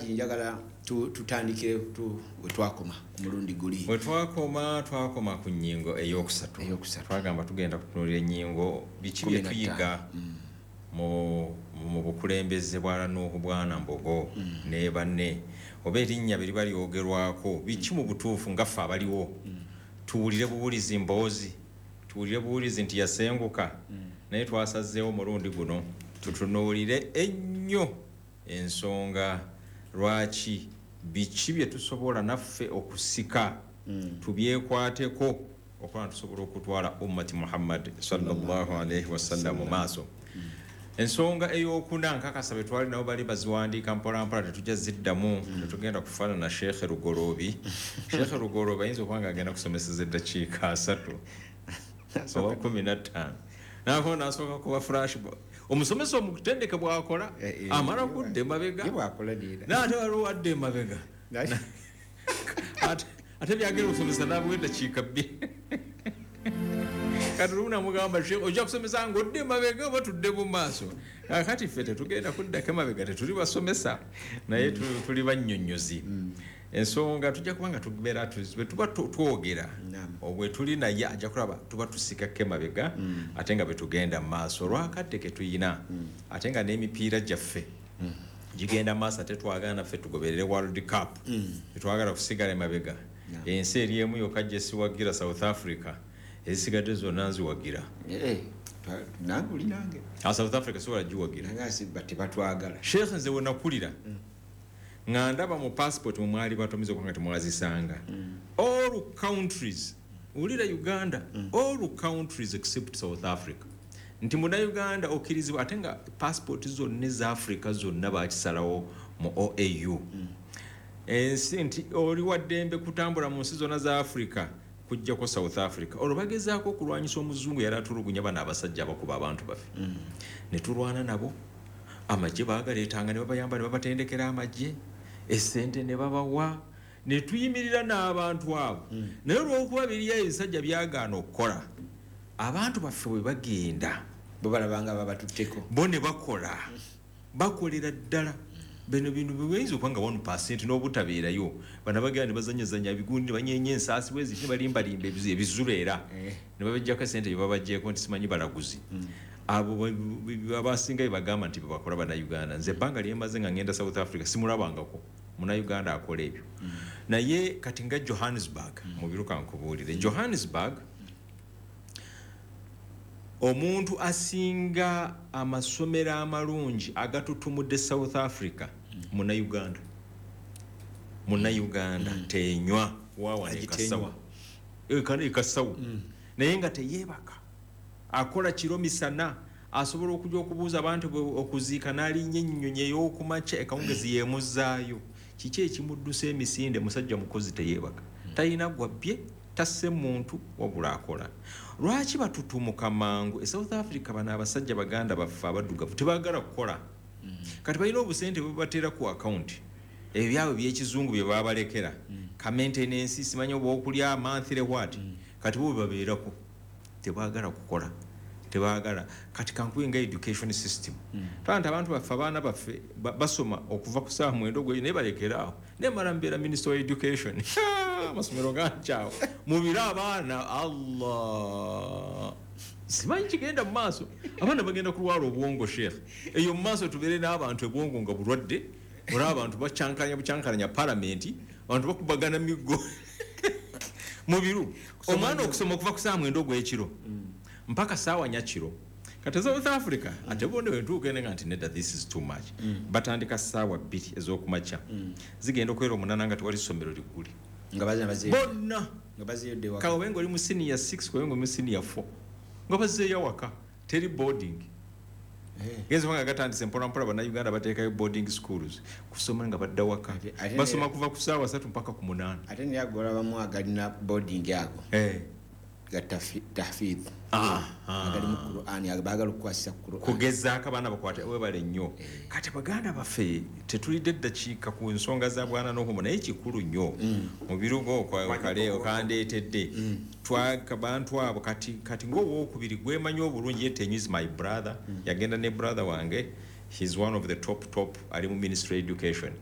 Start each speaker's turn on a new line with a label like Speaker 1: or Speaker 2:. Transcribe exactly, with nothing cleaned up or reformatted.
Speaker 1: Njagala tutandikire we twakoma ku mulundi guli.
Speaker 2: We twakoma, twakoma ku nnyingo ey'okusatu. Twagamba tugenda kutunuulira ennyingo biki bye tuyiga mu mu bukulembeze bwa Nuuhu Bwana Mbogo ne banne, oba erinnya bye liba lyogerwako biki mu butuufu nga ffe abaliwo. Tuwulire buwulizi mboozi, tuwulire buwulizi nti yasenguka, naye twasazeewo mulundi guno tutunuulire ennyo ensonga lwaki biki bye tusobola naffe okusika tubyekwateko okuba tusobola okutwala ummati Muhammad sallallahu alaihi wasallam mu maaso. Ensonga ey'okuna nkakasa be twali nabo bali baziwandiika mpola mpola, tetujja ziddamu, tetugenda kufaanana Sheikh Lugoloobi. Sheikh Lugoloobi ayinza okuba nga agenda kusomeseza eddakiika asatu oba kumi na ttaano, naako n'asooka kuba flash. Omusomesa omutendeke bw'akola amala kudda emabega, n'ate waliwo adda emabega, ate byagenda okusomesa n'abuwa eddakiika bbiri. Kati lumu namugamba, ojja kusomesa ng'odde emabega oba tudde mu maaso? Kaakati ffe tetugenda kuddako emabega, tetuli basomesa, naye tuli bannyonnyozi. Ensonga tujja kuba nga tubeera bwe tuba twogera bwe tuli naye ajja kulaba tuba tusikako emabega ate nga bwe tugenda mu maaso olwakadde ke tuyina, ate nga n'emipiira gyaffe gigenda maaso, ate twagala naffe tugoberere World Cup, tetwagala kusigala emabega. Ensi eri emu yokka gye siwagira, South Africa, ezisigadde zonna nziwagira.
Speaker 1: Nange oli nange.
Speaker 2: South Africa sobola giwagira.
Speaker 1: Tebatwagala.
Speaker 2: Sheikh, nze we nakulira nga ndaba mu passport mwe mwali batomiza okubanga temwazisanga. All countries, wulira Uganda, all countries except South Africa. Nti munnayuganda okkirizibwa, ate nga passport zonna eza Africa zonna bakisalawo mu O A U. Ensi nti oli wa ddembe kutambula mu nsi zonna za Africa kujjako South Africa. Olwo bagezaako okulwanyisa omuzungu yali atulugunya bano abasajja abakuba abantu baffe. Ne tulwana nabo, amagye baagaleetanga ne babayamba ne babatendekera amagye, essente ne babawa, ne tuyimirira n'abantu abo. Naye olw'okuba biriyo ebisajja byagaana okukola, abantu baffe bwe bagenda
Speaker 1: bo balabanga babatutteko,
Speaker 2: bo ne bakola, bakolera ddala. Bino bintu biyinza okuba nga one percent n'obutabeerayo, bano bagenda ne bazanyazanya ebigundi, ne banyeenya ensaasi bwe ziti, ne balimbalimba ebizula era ne babaggyako essente bye babaggyeko nti simanyi balaguzi. Abo abasinga bye bagamba nti bye bakola Bannayuganda. Nze ebbanga lye mmaze nga ngenda South Africa simulabangako Munnayuganda akola ebyo. Naye kati nga Johannesburg, mu biruka nkubuulire, Johannesburg omuntu asinga amasomero amalungi agatutumudde South Africa Munnayuganda. Munnayuganda tenywa waawa ne kasawo. Ekasawo. Naye nga teyeebaka, akola kiro misana, asobola okujja okubuuza abantu okuziika n'alinnya ennyonyi ey'okumakya ekawungezi yeemuzaayo. Kiki ekimuddusa emisinde? Musajja mukozi teyeebaka, talina gwabbye, tasse muntu, wabula akola. Lwaki batutumuka mangu? E South Africa bano abasajja baganda baffe abaddugavu tebaagala kukola. Kati balina obusente bwe bateera ku akawunti, ebyabwe by'ekizungu bye babalekera, ka maintenance simanyi oba okulya monthly what, kati bo bwe babeerako tebaagala kukola, tebaagala. Kati kankuwe nga education system, twala nti abantu baffe abaana baffe basoma okuva ku ssaawa mwenda ogw'eyo naye balekera awo. Naye mala mbeera minister wa education, amasomero gankyawo mubire abaana, Allah simanyi kigenda mu maaso, abaana bagenda kulwala obwongo. Sheikh, eyo mu maaso tubeere n'abantu ebwongo nga bulwadde, olaba abantu bakyankalanya bukyankalanya palamenti, abantu bakubagana miggo mubiru. Omwana okusoma okuva ku ssaawa mwenda ogw'ekiro mpaka ssaawa nnya kiro. Kati South Africa ate bonde bwe ntuuka ene nga nti nedda, this is too much. Batandika ssaawa bbiri ez'okumakya, zigenda okubeera omunaana nga tewali ssomero liggule.
Speaker 1: Nga bazina bazeeyo.
Speaker 2: Bonna.
Speaker 1: Nga bazeeyo waka.
Speaker 2: Kawe ng'oli mu senior six, kawe ng'oli mu senior four. Nga bazeeyo waka, teri boarding. Genza nga gatandise mpola mpola Bannayuganda bateekayo boarding schools kusoma nga badda waka. Basoma kuva ku ssaawa ssatu mpaka ku munaana.
Speaker 1: Ate naye agolabamu agalina boarding ago.
Speaker 2: Eh.
Speaker 1: Ga tahfidh. Agali mu Qur'an, baagala okukwasisa Qur'an.
Speaker 2: Kugezaako abaana bakwate webale nnyo. Kati baganda baffe tetulidde ddakiika ku nsonga za Bwana Nuhu, naye kikulu nnyo. Mu birugo kale okandeetedde. Bantu abo kati kati ng'owookubiri gwemanyi obulungi, ye Tenywa is my brother, yagenda ne brother wange He's one of the top top, ali mu Ministry Education.